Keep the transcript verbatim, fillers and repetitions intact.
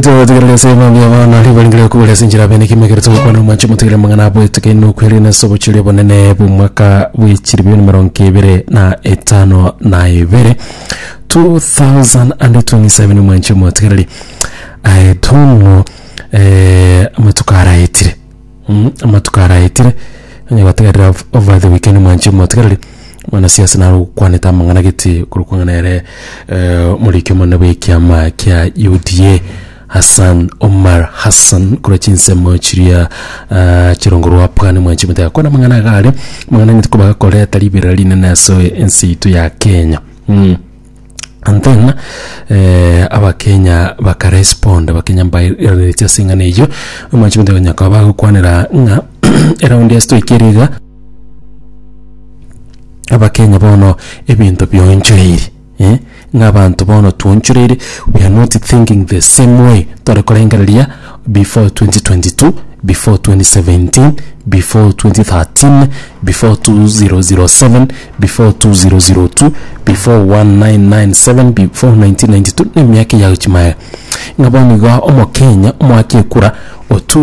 Tutegerere ase mambia bono ribaringire okobera ase enchera bene kimegere togokwana omwanche omotegere amang'ana abweteke nokwere ase obochori obonene bw'omwaka bw'echiribu mirongo ebere na etano na ibere two thousand and twenty-seven. Omwanche omotegereri, I don't know, eh, amatuko araetire, Mm, amatuko araetire onye gotegerera over the weekend, omwanche omotegereri, mwanasiasa naro gokwanete amang'ana gete korokwa ng'a nere eh, omoriki omonene bw'ekiama kia U D A, Hassan Omar Hassan, korwa chinsemo chiria uh, chirongo rwa Pwani. Mwanchi mutega kwana amang'ana iga are amang'ana ng'iti kobakoreta riberera rinene ase ense yaito ya Kenya. mm. And then eh, Abakenya bakarespond, Abakenya mbairaneretie ase eng'ana eyio. Omwanchi mutega nyaka bagokwanera ng'a eraundi ase toikere iga, Abakenya bono ebinto bionchoreire, eh? Ng'a abanto bono twonchoreire, we are not thinking the same way tware korengereria before twenty twenty-two, before twenty seventeen, before twenty thirteen, before two thousand seven, before two thousand two, before nineteen ninety-seven, before nineteen ninety-two na emiaka eyagochimaega. Ng'a bono igo Omokenya omoaki ekura otu